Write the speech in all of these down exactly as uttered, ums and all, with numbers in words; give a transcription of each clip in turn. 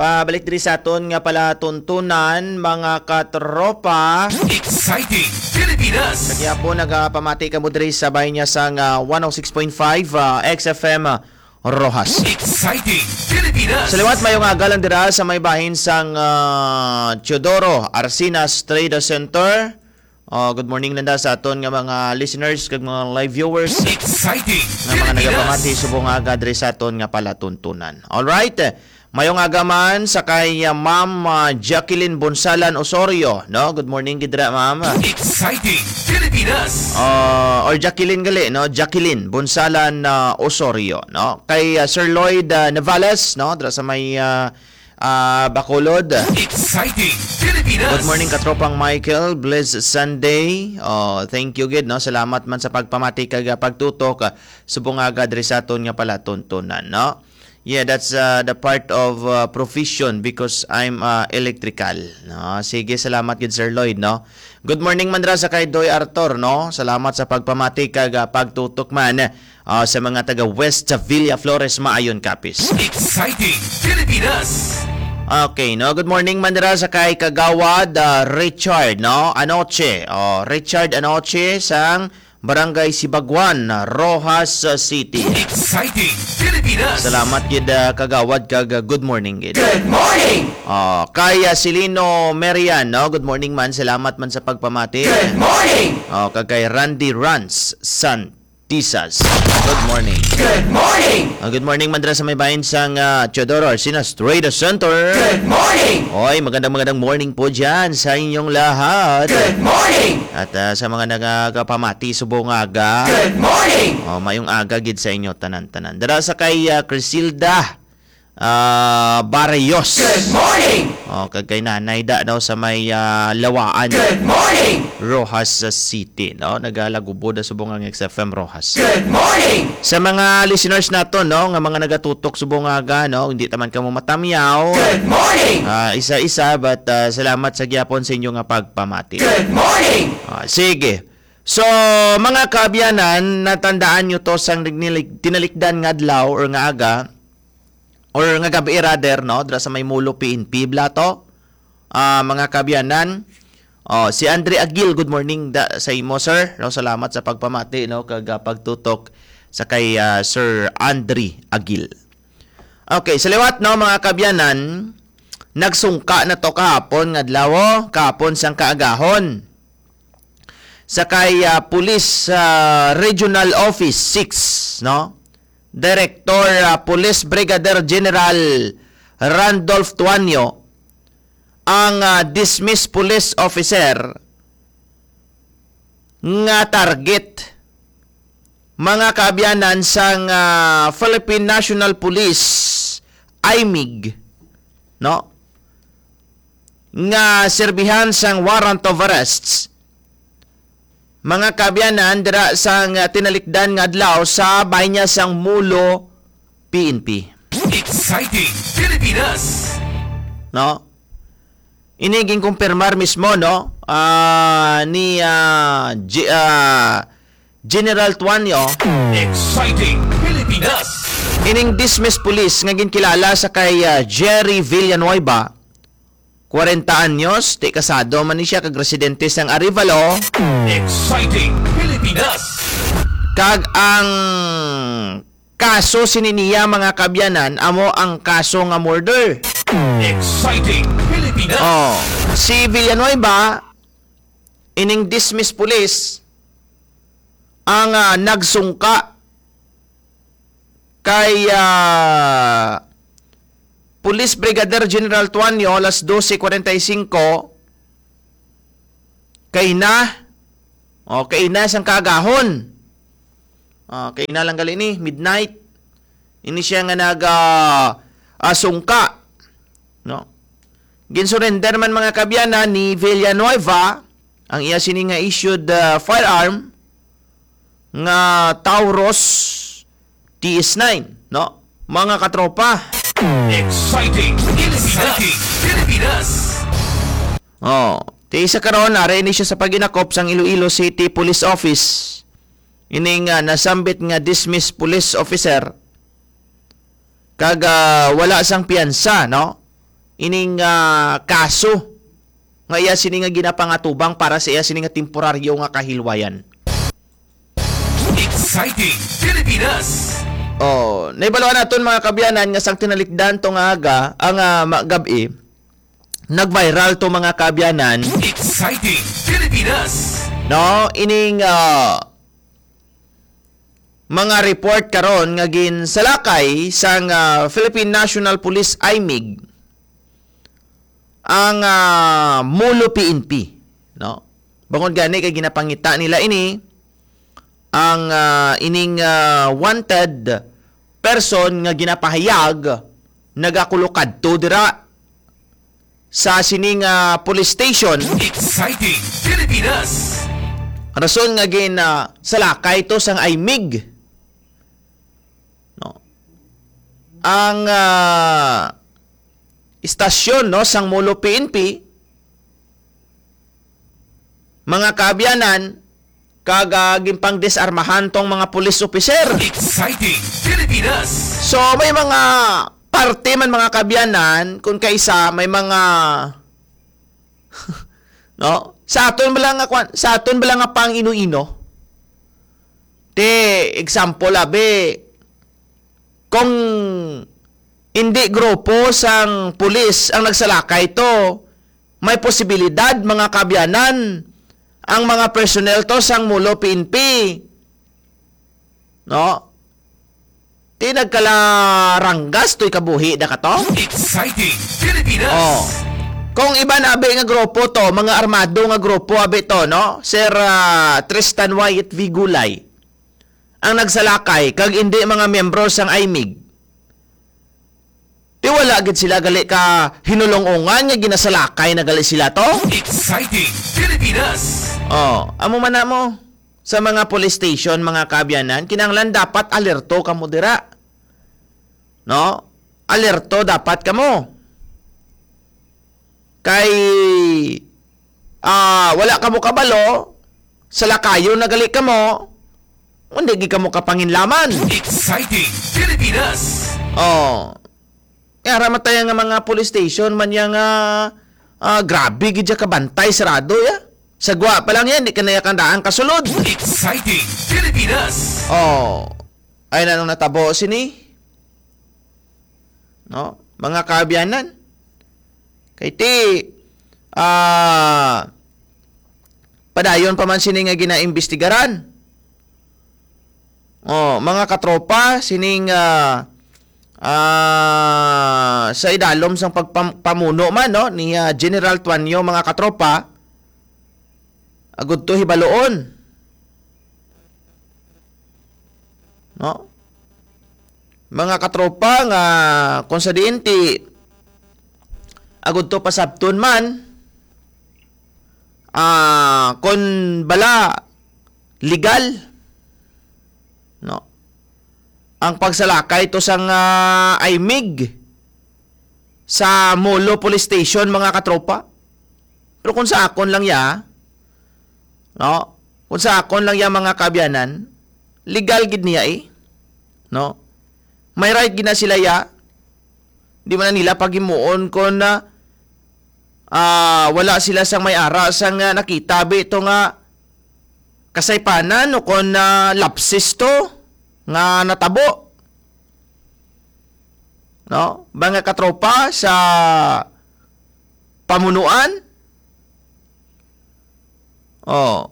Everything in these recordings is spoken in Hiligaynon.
Pabalik diri sa aton nga palatuntunan, mga katropa. Exciting Pilipinas! Sa gihapon, nagapamati kamo diri sa bahin niya sang, ah, one oh six point five, ah, X F M, ah, Roxas. Exciting Pilipinas! Sa liwat, mayong aga lang dira sa may bahin sang, ah, Teodoro Arsinas Trade Center. Oh, good morning lang da sa aton nga mga listeners kag mga live viewers. Exciting! Nga mga Pilipinas! Nagapamati subong nga aga diri sa aton nga palatuntunan. Alright. Mayong aga man sa kay, uh, Ma'am, uh, Jacqueline Bonsalan Osorio, no? Good morning gid ra, Ma'am. Exciting Pilipinas! Uh, or Jacqueline gali, no? Jacqueline Bonsalan, uh, Osorio, no? Kay, uh, Sir Lloyd, uh, Navales, no? Dira sa may, uh, ah, Bacolod. Exciting Pilipinas! Good morning, katropang Michael. Blessed Sunday. Oh, thank you gid, no? Salamat man sa pagpamati kag, ah, pagtutok, ah, subong nga aga diri sa aton nga palatuntunan, no? Yeah, that's, uh, the part of, uh, profession because I'm, uh, electrical, no? Sige, salamat gid, Sir Lloyd, no? Good morning man ra sa kay Doy Arthur, no? Salamat sa pagpamati kag, ah, pagtutok man, ah, sa mga taga West Villa Flores, Maayon, Capiz. Exciting Pilipinas! Okay, no? Good morning man ra sa kay Kagawad, ah, Richard, no? Anoche. Oh, Richard Anoche sang Barangay Sibaguan, Roxas City. Exciting Pilipinas! Salamat gid, ah, Kagawad, kag, ah, good morning gid. Good morning! Oh, kay, ah, Silino Merian, no? Good morning man. Salamat man sa pagpamati. Good morning! Oh, kag kay Randy Rans Santisas. Good morning. Good morning! Ah, good morning man dira sa may bahin sang, ah, Teodoro Arsinas Trade Center. Good morning! Oy, magandang, magandang morning po dyan sa inyong lahat. Good morning! At, ah, sa mga nagapamati subong aga. Good morning! Oh, mayong aga gid sa inyo tanan-tanan. Dira sa kay, ah, Crisilda, ah, Barrios. Good morning! Oh, kag kay Nanay da daw sa may, ah, Lawaan. Good morning! Roxas City, no? Nagalagubo da subong ang X F M Roxas. Good morning! Sa mga listeners nato, no, nga mga nagatutok subong aga, no, hindi taman kamo matamyaw. Good morning! Ah, isa-isa, but, ah, salamat sa gihapon sa inyo nga pagpamati. Good morning! Ah, sige. So, mga kaabyanan, natandaan nyo to sang nagnilig-, tinalikdan nga adlaw or nga aga, or nga gabi rather, no, dira sa may Mulo P N P Blato. Ah, mga kaabyanan, oh, si Andre Agil, good morning da, sa imo, sir. No, salamat sa pagpamati, no, kag, ah, pagtutok sa kay, ah, Sir Andre Agil. Okay, sa liwat, no, mga kaabyanan, nagsungka na to kahapon nga adlaw, oh, kahapon sang kaagahon. Sa kay, ah, Police, ah, Regional Office six, no? Director, ah, Police Brigadier General Randolph Tuanyo ang, ah, dismissed police officer nga target, mga kaabyanan, sang, ah, Philippine National Police, imig, no? Nga serbihan sang warrant of arrests, mga kaabyanan, dira sang tinalikdan nga adlaw sa bahin niya sang Mulo P N P. Exciting Pilipinas! No? Ini ginkumpirmar mismo, no? Ah, ni, ah, G-, ah, General Tuanyo. Exciting Pilipinas! Ining dismissed police nga ginkilala sa kay, ah, Jerry Villanueva, kwarenta anyos, ti kasado man ni siya kag residente sang Arevalo. Exciting Pilipinas! Kag ang kaso sini niya, mga kaabyanan, amo ang kaso nga murder. Exciting Pilipinas! Oh, si Villanueva, ining dismissed police, ang, ah, nagsungka kay, ah, Police Brigadier General Tuanyo, alas dose kwarenta y singko, kay na, o, kay na sang kaagahon. Ah, kay na lang gali ni, midnight. Ini siya nga nag, ah, ah, sungka, no? Ginsurrender man, mga kaabyanan, ni Villanueva ang iya sini nga issued, ah, firearm nga Taurus T S nine, no? Mga katropa. Exciting Pilipinas! Exciting Pilipinas! Oh, ti sa karon, ari ni siya sa paginakop sang Iloilo City Police Office. Ining, ah, nasambit nga dismissed police officer kag, ah, wala sang piyansa, no? ining, ah, kaso nga iya sini nga ginapangatubang para sa iya sini nga temporaryo nga kahilwayan. Exciting Pilipinas. Oh, naibaluan naton, mga kaabyanan, nga sang tinalikdan to nga aga, ang, ah, ma-, gab-i, nag-viral to, mga kaabyanan. Exciting Pilipinas. No, ining, ah, mga report karon nga ginsalakay sang, ah, Philippine National Police, imig, ang, ah, Molo P N P, no? Bangod gani kay ginapangita nila ini, ang, ah, ining, ah, wanted person nga ginapahayag nagakulokadto dira sa sining, ah, police station. Exciting Pilipinas. Rason nga gin, ah, salakay to sang imig, no? Ang, ah, istasyon, no, sang Molo P N P, mga kaabyanan, kag, ah, ginpangdisarmahan tong mga police officer. Exciting Pilipinas. So, may mga parte man, mga kaabyanan, kung kaisa, may mga, no? Sa aton bala nga kwan, sa aton bala nga pang-ino-ino. Ti, example, abi, kung hindi grupo sang pulis ang nagsalakay to, may posibilidad, mga kaabyanan, ang mga personnel to sang Molo P N P, no? Ti nagkalaranggas to'y kabuhi da ka to? Exciting Pilipinas. Oh. Kung iban abi nga grupo to, mga armado nga grupo abi to, no? Sir, ah, Tristan Wyatt V. Gulay, ang nagsalakay kag indi mga miyembro sang imig. Di wala gid sila gali ka hinulong-ungan nga ginasalakay na gali sila to? Exciting Pilipinas. Oh, amo man na mo. Sa mga police station, mga kaabyanan, kinahanglan dapat alerto kamo dira. No? Alerto dapat kamo. Kay, ah, wala kamo kabalo, salakayon na gali kamo, hindi gid kamo kapanginlaman. Exciting Pilipinas. Oh. Kaya ramatay nga mga police station man yang, ah, ah, grabe gid siya kabantay, sarado ya. Sa gwa pa lang yan, di ka na yakandaan kasulod. Exciting Pilipinas. Oh. Ay, nanong natabo sini? No? Mga kaabyanan. Kay ti, ah, padayon pa man sini nga ginaimbestigaran. Oh, mga katropa, sining, ah, ah, sa idalom sang pagpam-, pamuno man, no, ni, ah, General Tuanyo, mga katropa, agud to hibaloon. No? Mga katropa, nga kung sa diin ti agud to pasabton man, ah, kung bala legal, no? Ang pagsalakay to sang, ah, imig sa Molo Police Station, mga katropa. Pero kung sa akon lang ya, no? Kung sa akon lang ya, mga kaabyanan, legal gid niya eh. No? May right gid na sila ya. Di man na nila paghimuon kung, ah, ah, wala sila sang may ara sang, ah, nakita bi to nga kasaypanan o kung, ah, lapses to nga natabo. No? Mga katropa sa pamunuan. Oh.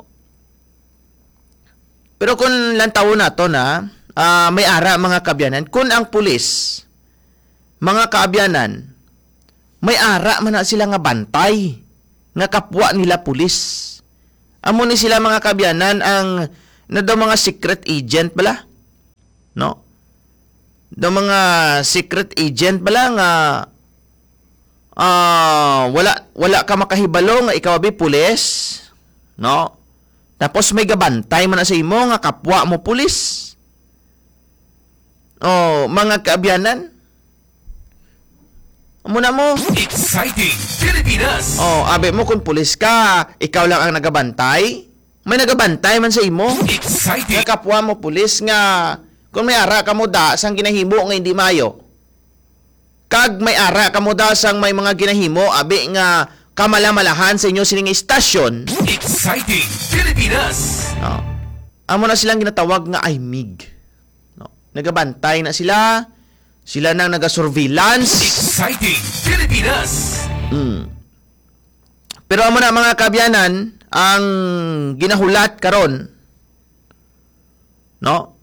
Pero kung lantawon nato na, ah, may ara, mga kaabyanan, kung ang pulis, mga kaabyanan, may ara man na sila nga bantay nga kapwa nila pulis. Amo ni sila, mga kaabyanan, ang na daw mga secret agent bala, no? Daw mga secret agent bala nga, ah, wala, wala ka makahibalo nga ikaw abi pulis, no? Tapos may gabantay man na sa imo nga kapwa mo pulis. Oh, mga kaabyanan. Amo na mo. Exciting Pilipinas. Oh, abi mo kung pulis ka, ikaw lang ang nagabantay. May nagabantay man sa imo. Exciting. Nga kapwa mo pulis nga kung may ara ka mo da sang ginahimo nga hindi maayo, Ag may ara kamo da sang may mga ginahimo, abi nga kamalamalahan sa inyo sining istasyon. Exciting Pilipinas. No? Amo na silang ginatawag nga I M I G. No? Nagabantay na sila. Sila nang nagasurveillance. Exciting Pilipinas. Mm. Pero amo na, mga kaabyanan, ang ginahulat karon, no,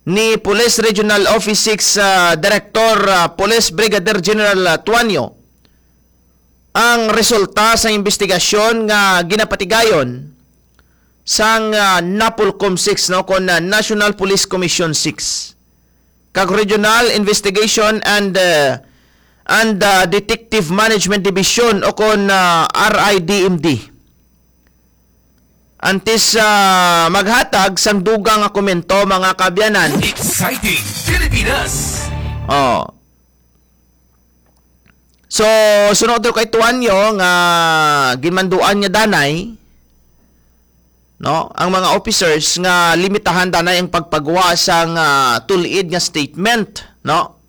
ni Police Regional Office six, ah, Director, ah, Police Brigadier General, ah, Tuanyo, ang resulta sa investigasyon nga ginapatigayon sang, ah, NAPOLCOM six, no, kon, ah, National Police Commission six, kag Regional Investigation and, ah, and, ah, Detective Management Division, o kon, ah, R I D M D. Antes, ah, maghatag sang dugang nga komento, mga kaabyanan. Exciting Pilipinas. Oh. So, sunod daw kay Tuanyo nga ginmanduan niya danay, no, ang mga officers nga limitahan danay ang pagpagawa sang, ah, tul-id nga statement, no?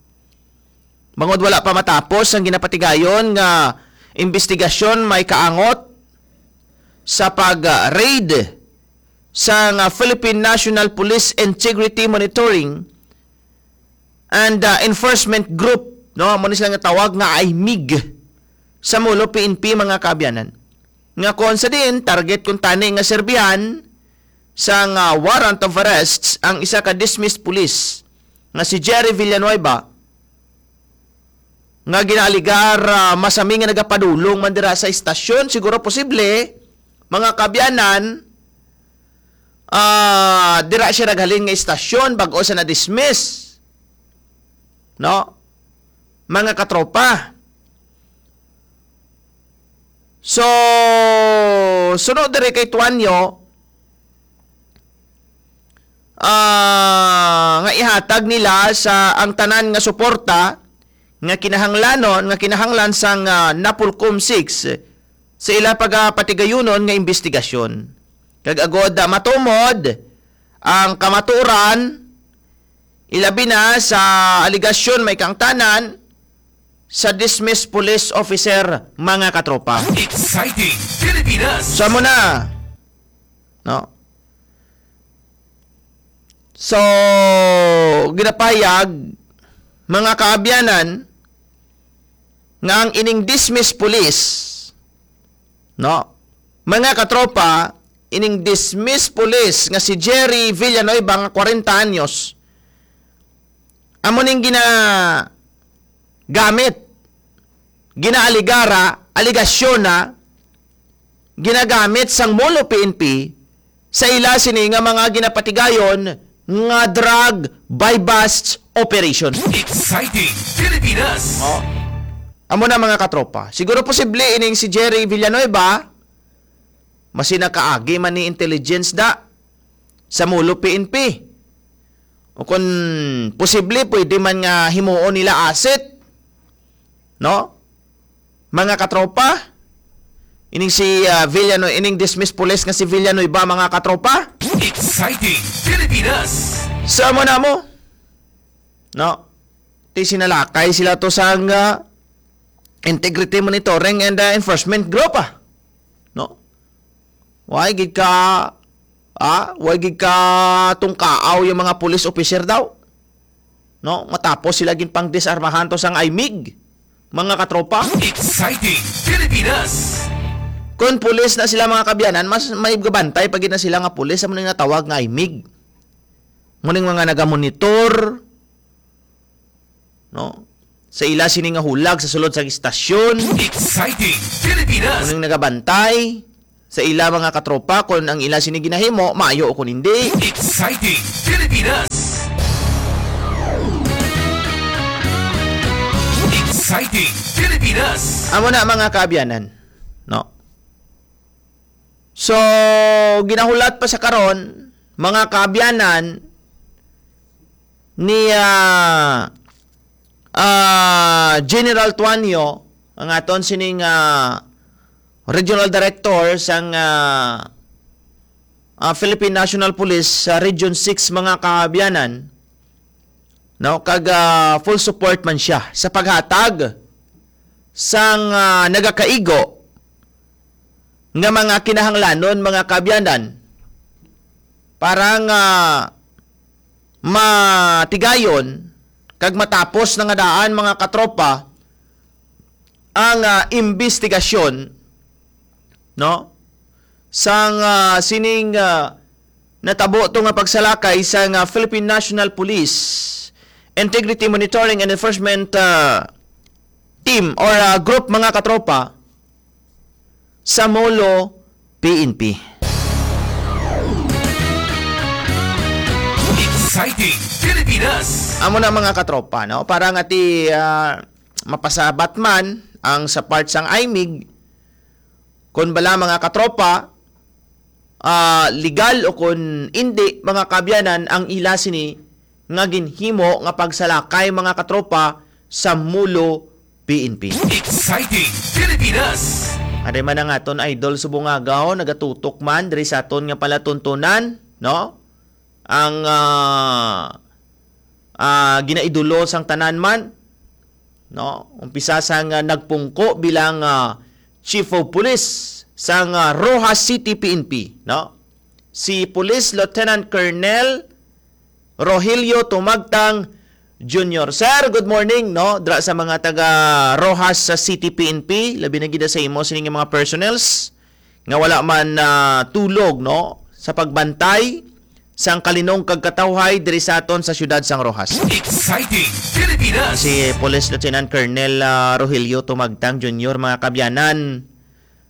Bangod wala pa matapos ang ginapatigayon nga investigasyon, may kaangot sa pag-raid sa nga Philippine National Police Integrity Monitoring and, uh, Enforcement Group, no? Amo ni sila nga tawag nga I M I G sa Molo P N P, mga kaabyanan. Nga kon sa diin, target kuntani nga serbihan sang, uh, warrant of arrests ang isa ka dismissed police nga si Jerry Villanueva, nga ginaaligar, ah, masami nga nagapadulong man dira sa istasyon. Siguro posible, mga kaabyanan, ah, dira siya naghalin nga istasyon bag-o sa na-dismiss. No? Mga katropa. So, sunod diri kay Tuanyo, ah, nga ihatag nila sa ang tanan nga suporta nga kinahanglanon, nga kinahanglan sang, ah, NAPOLCOM six sa ila pagapatigayunon nga imbestigasyon. Kag agod, ah, matumod ang kamatuoran, ilabi na sa aligasyon may kaangtanan sa dismissed police officer, mga katropa. Exciting Pilipinas. So, amo na. No? So, ginapahayag, mga kaabyanan, nga ang ining dismissed police, no? Mga katropa, ining dismissed police nga si Jerry Villanueva nga kwarenta anyos, amo ning gina-, gamit, ginaaligara, aligasyon na ginagamit sang Molo P N P sa ila sini nga mga ginapatigayon nga drug buy-bust operation. Exciting Pilipinas. Oh. Amo na, mga katropa. Siguro posible ining si Jerry Villanueva, masi nakaagi man ni intelligence da sa Molo P N P. O kung posible, pwede man nga himuon nila asset, no? Mga katropa, ining si, ah, Villano-, ining dismissed police nga si Villanueva, mga katropa. Exciting Pilipinas. Sa mo na mo, no? Ti sinalakay sila to sa nga Integrity Monitoring and, ah, Enforcement Group, ah. No? Why gid ka, ah, why gid ka tungkaaw yung mga police officer daw? No? Matapos sila gin pangdisarmahan to sang I M I G, mga katropa. Exciting Pilipinas. Kung pulis na sila, mga kaabyanan, mas may gabantay pa gid na sila nga pulis sa mga natawag nga I M I G. Muning mga nagamonitor, no? Sa ila sini nga hulag sa sulod sa istasyon. Exciting Pilipinas. Muning nagabantay sa ila, mga katropa, kung ang ila sini ginahimo maayo o kung hindi. Exciting Pilipinas. Exciting Pilipinas. Amo na, mga kaabyanan, no? So, ginahulat pa sa karon, mga kaabyanan, ni, ah, ah, General Tuanyo, ang aton sining, ah, Regional Director sang, ah, ah, Philippine National Police sa Region six, mga kaabyanan, no? Kag, ah, full support man siya sa paghatag sang, ah, nagakaigo nga mga kinahanglanon, mga kaabyanan, para nga matigayon kag matapos na nga daan, mga katropa, ang, ah, imbestigasyon, no, sang, ah, sining, ah, natabo to nga pagsalakay sang, ah, Philippine National Police Integrity Monitoring and Enforcement, ah, Team or, ah, Group, mga katropa, sa Molo P N P. Exciting Pilipinas! Amo na, mga katropa, no? Para nga ti, ah, mapasabat man ang sa part sang imig, kon bala, mga katropa, ah, legal o kon indi, mga kaabyanan, ang ila sini nga ginhimo nga pagsalakay, mga katropa, sa Molo P N P. Exciting Pilipinas! Ari man ang aton idol subong agaw, nagatutok man diri sa aton nga palatuntunan, no? Ang, ah, ah, ginaidolo sang tanan man, no? Umpisa sang, ah, nagpungko bilang, ah, Chief of Police sang, ah, Roxas City P N P, no? Si Police Lieutenant Colonel Rogelio Tumagtang Junior. Sir, good morning, no? Dra sa mga taga Roxas sa City P N P, labi na gid sa imo sining mga personnels nga wala man, ah, tulog, no? Sa pagbantay sang kalinong kag katawhay diri sa aton sa siyudad sang Roxas. Exciting Pilipinas! Si Police Lieutenant Colonel, ah, Rogelio Tumagtang Junior, mga kabyanan,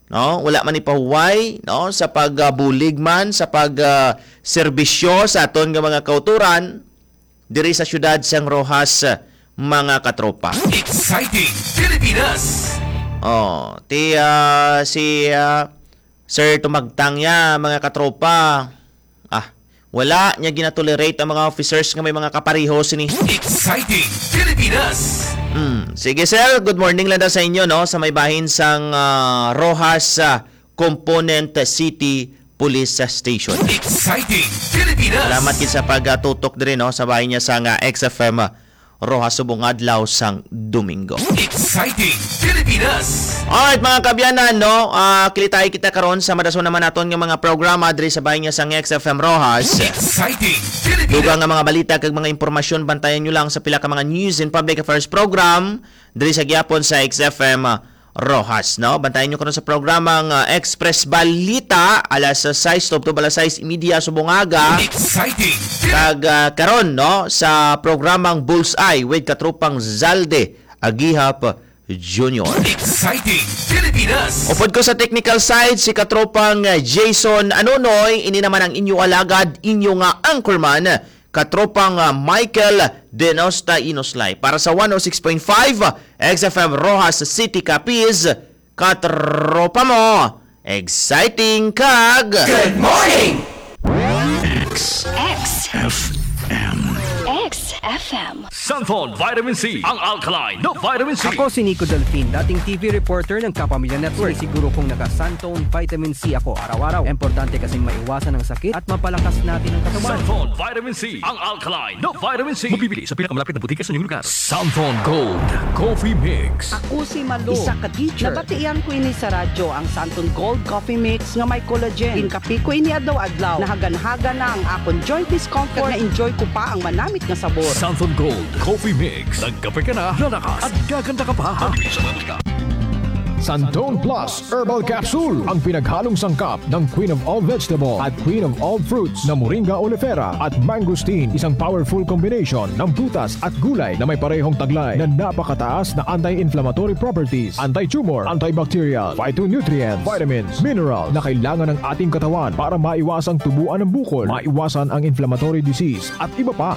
no? Wala man ipahuway, no, sa pagbulig man, sa pag, ah, serbisyo sa aton nga mga kauturan diri sa siyudad sang Roxas, mga katropa. Exciting Pilipinas! Oh, ti, ah, si, ah, Sir Tumagtang ya, mga katropa. Ah, wala niya ginatolerate ang mga officers nga may mga kapareho sini. Exciting Pilipinas! Hmm. Sige, sir, good morning lang daw sa inyo, no, sa may bahin sang, ah, Roxas, ah, Component City Police Station. Exciting Pilipinas! Salamat gid sa pagtutok diri, no, sa bahin niya sang, ah, X F M, ah, Roxas subong adlaw sang Domingo. Exciting Pilipinas! Alright, mga kabyanan, no? Ah, kilitay kita karon sa madason naman naton nga mga programa diri sa bahin niya sang X F M Roxas. Exciting Pilipinas! Dugang nga mga balita kag mga impormasyon, bantayan nyo lang sa pila ka mga news and public affairs program diri sa gihapon sa X F M Roxas, no? Bantayan nyo karon sa programang, ah, Express Balita, alas sais tubtob alas sais y media subong aga. Exciting! Kag, ah, karon, no, sa programang Bullseye with Katropang Zalde Agihap Junior. Exciting Pilipinas! Upod ko sa technical side, si Katropang, ah, Jason Anonoy, ini naman ang inyo alagad, inyo nga anchorman, Katropang, ah, Michael Denosta Inoslay. Para sa one oh six point five, ah, X F M Roxas City, Capiz, katropa mo, exciting kag Good morning! X F M. X F M. Santon Vitamin C, ang alkaline na vitamin C. Ako si Nico Delfin, dating T V reporter ng Kapamilya Network. Sinisiguro kong naka-Santon Vitamin C ako araw-araw. Importante kasing maiwasan ang sakit at mapalakas natin ang katawan. Santon Vitamin C, ang alkaline na vitamin C. Mabibili sa pinakamalapit na butika sa inyong lugar. Santon Gold Coffee Mix. Ako si Malu, Isa ka teacher. Nabatian ko ini sa radyo, ang Santon Gold Coffee Mix nga may collagen. Ginkape ko ini adlaw-adlaw. Nahagan-hagan na ang akon joint discomfort. Kag na-enjoy ko pa ang manamit nga sabor. Santon Gold Coffee Mix. Nagkape ka na, lalakas, at gaganda ka pa. Santon Plus Herbal Capsule, ang pinaghalong sangkap ng Queen of All Vegetable at Queen of All Fruits na Moringa oleifera at mangosteen, isang powerful combination ng prutas at gulay na may parehong taglay na napakataas na anti-inflammatory properties, anti-tumor, antibacterial, phytonutrient, vitamins, mineral na kailangan ng ating katawan para maiwasang tubuan ng bukol, maiwasan ang inflammatory disease at iba pa.